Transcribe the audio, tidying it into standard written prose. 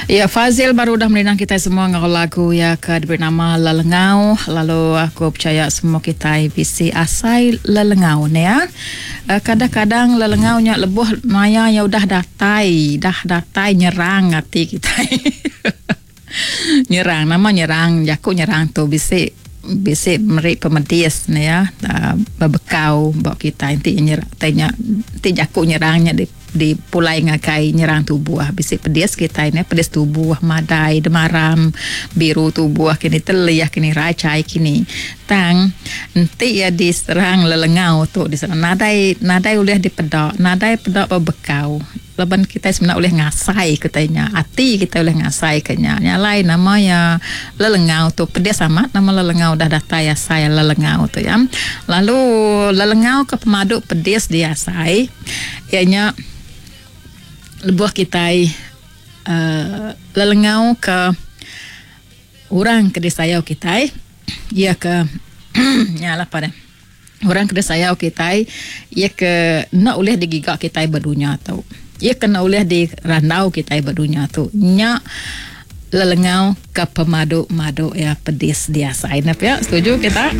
Ya Fazil baru udah merindang kitai semua enggau lagu iya ke diberi nama Lelengau lalu aku pechaya semua kitai bisi asai lelengau ne ya. Kadang-kadang lelengau nya lebuh maya iya udah datai dah datai nyerang ati kitai. Nyerang nama nyerang jaku nyerang tu bisi bisi meri pemedis ne ya bebekau ba kitai enti nyerang tai nya enti jaku nyerang nya di dipulai ngagai nyerang tubuh bisi pedis kitai ne pedis tubuh madai demaram biru tubuh kini telih kini rajai kini tang enti iya diserang lelengau tu diserang nadai nadai ulih dipeda nadai peda bebekau. Laban kitai semina ulih ngasai ke utai nya, ati kitai ulih ngasai ke nya. Nya alai nama iya lelengau tu pedis amat nama lelengau udah datai asai lelengau tu ya. Lalu lelengau ke pemadu pedis diasai iya nya lebuh kitai uhh lelengau ke orang ke disayau kitai iya ke nya lah pa deh. Orang ke disayau kitai, iya ke enda ulih digiga kitai ba dunya tu. Iya ke enda ulih dirandau kitai ba dunya tu. Nya lelengau ke pemadu-madu iya pedis diasai. Enda pia? Setuju kita?